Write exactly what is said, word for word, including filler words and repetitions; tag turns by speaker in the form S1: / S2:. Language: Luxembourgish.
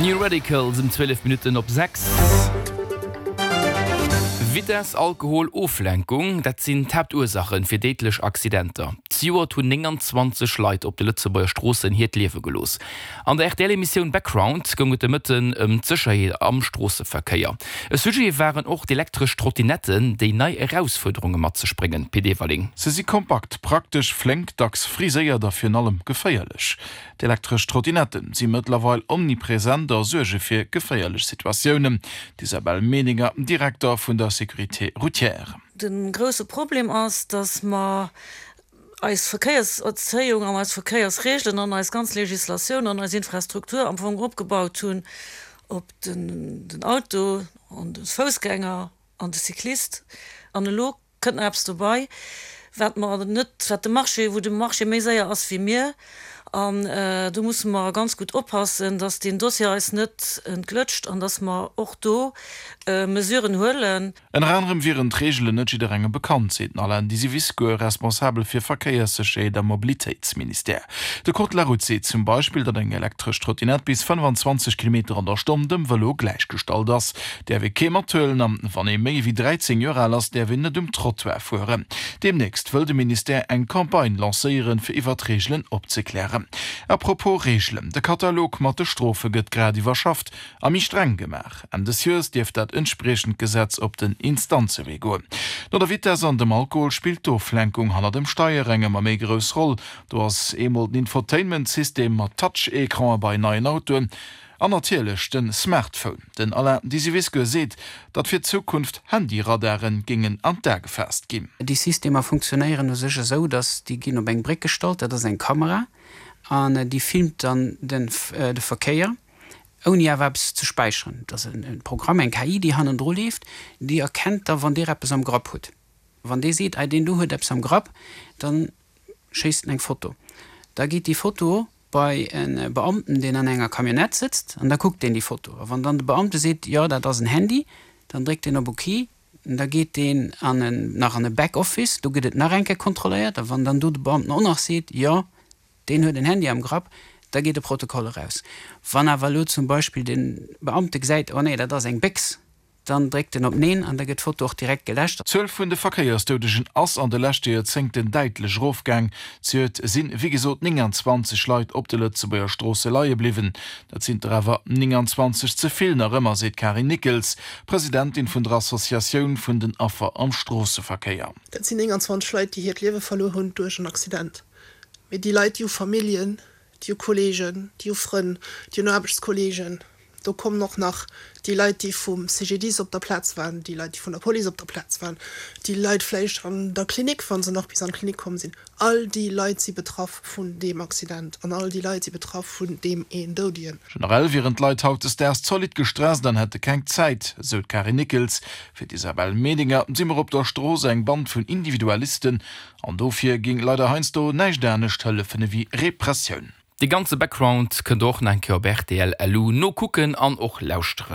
S1: New Radicals um zwielef Minutten op sechs. Vitess, Alkohol, Oflenkung, dat sinn d'Haaptursachen fir déidlech Accidenter. Zejoert hunn nénganzwanzeg Leit op de Lëtzebuerger Stroossen hiert Liewe gelooss. An der R T L-Emissioun Background goung et de Mëtten ëm d'Sécherheet am Stroosseverkéier. E Sujet waren och d'elektresch Trottinetten, déi nei Erausfuerderunge mat sech bréngen. Pit Everling.
S2: Se si kompakt, praktesch, flénk, dacks friséiert a virun allem geféierlech. D'elektresch Trottinetten si mëttlerweil omnipresent a suerge fir geféierlech Situatiounen. D'Isabelle Medinger, Direkter vun der Sécurité routière.
S3: De grousse Problem ass, dass mer eis Verkéierserzéiung an eis Verkéiersreegelen an eis ganz Legislatioun an eis Infrastruktur am Fong opgebaut hunn op den, den Auto an de Foussgänger an de Cyclist. An elo kënnt nach eppes dobäi, wat mer net, wat de Marché, wou de Marché méi séier ass wéi mir. An do musse mer ganz gutt oppassen, dass deen Dossier eis net entglëtscht an dass mer och do Mesuren huelen.
S2: Ënner anerem wieren d'Reegelen net jidderengem bekannt, seet den Alain Disiviscour, responsabel fir Verkéierssécherheet am Mobilitéitsministère. De Code de la route seet zum Beispill, datt eng elektresch Trottinett bis fënnfanzwanzeg Kilometer an der Stonn dem Vëlo gläichgestallt ass, däerf ee kee mathuelen an wann ee méi wéi dräizéng Joer al ass, däerf een net um Trottoir fueren. Deemnächst wëll de Ministère eng Campagne lancéieren, fir iwwer d'Reegelen opzeklären. A propos Reegelen, de Katalog mat de Strofe gëtt grad iwwerschafft a méi streng gemaach. Enn des Joers dierft dat entspriechend Gesetz op den Instanzewee goen. No der Vitess an dem Alkohol spillt d'Oflenkung hanner dem Steier eng ëmmer méi grouss Roll. Do ass eemol den Infotainment-System mat Touch-Ecrane bei neien Autoen an natierlech de Smartphone. Den Alain Disiviscour seet, datt fir d'Zukunft Handyradare géingen an d'A gefaasst ginn.
S4: Déi Systemer funktionéieren u sech esou, datt déi ginn op eng Bréck gestallt, dat ass eng Kamera an déi filmt dann de Verkéier, ouni awer eppes ze späicheren. Dat ass e Programm, eng K I, déi hannendru leeft, déi erkennt da wann Dir eppes am Grapp hutt. Wann dee seet, ei deen do huet eppes am Grapp, da schéisst en eng Foto. Da geet déi Foto bei e Beamten, deen an enger Camionnette sëtzt, an da kuckt deen déi Foto. A wann dann de Beamte seet, jo dat ass en Handy, dann dréckt deen op Ok, da geet deen an en, nach an e Backoffice, do gëtt et nach eng Kéier kontrolléiert, a wann dann do de Beamten och nach seet, jo deen huet en Handy am Grapp, da geet de Protokoll eraus. Wann awer elo zum Beispill de Beamte gesäit, oh nee, dat ass eng Béchs, dann dréckt en op Neen an da gëtt d'Foto och direkt geläscht.
S2: D'Zuel vun de Verkéiersdoudegen ass an de leschte Joerzéngten däitlech erofgaang. Zejoert sinn, wéi gesot, nénganzwanzeg Leit op de Lëtzebuerger Stroosse leie bliwwen. Dat sinn der awer nénganzwanzeg ze vill nach ëmmer, seet d'Karin Nickels, Presidentin vun der Associatioun vun den Affer am Stroosseverkéier.
S5: Dat sinn nénganzwanzeg Leit, déi hiert Liewe verluer hunn duerch en Accident. Mee déi Leit, déi hu Familljen, déi hu Kolleegen, déi hu Frënn, déi hunn Aarbechtskolleegen. Do kommen och nach déi Leit, déi vum C G D I S op der Plaz waren, déi Leit, déi vun der Police op der Plaz waren, déi Leit vläicht an der Klinik, wa se nach bis an d'Klinik komm sinn. All déi Leit si betraff vun deem Accident an all déi Leit si betraff vun deem een Doudegen.
S2: Generell wieren d'Leit hautdesdaags zolidd gestresst an hätte keng Zäit, esou d'Karin Nickels. Fir d'Isabelle Medinger si mer op der Strooss eng Band vun Individualisten an dofir géing leider heiansdo näischt anescht hëllefen ewéi Repressioun.
S1: De ganze Background kënnt der och nach eng Kéier op R T L L U nokucken an och lauschteren.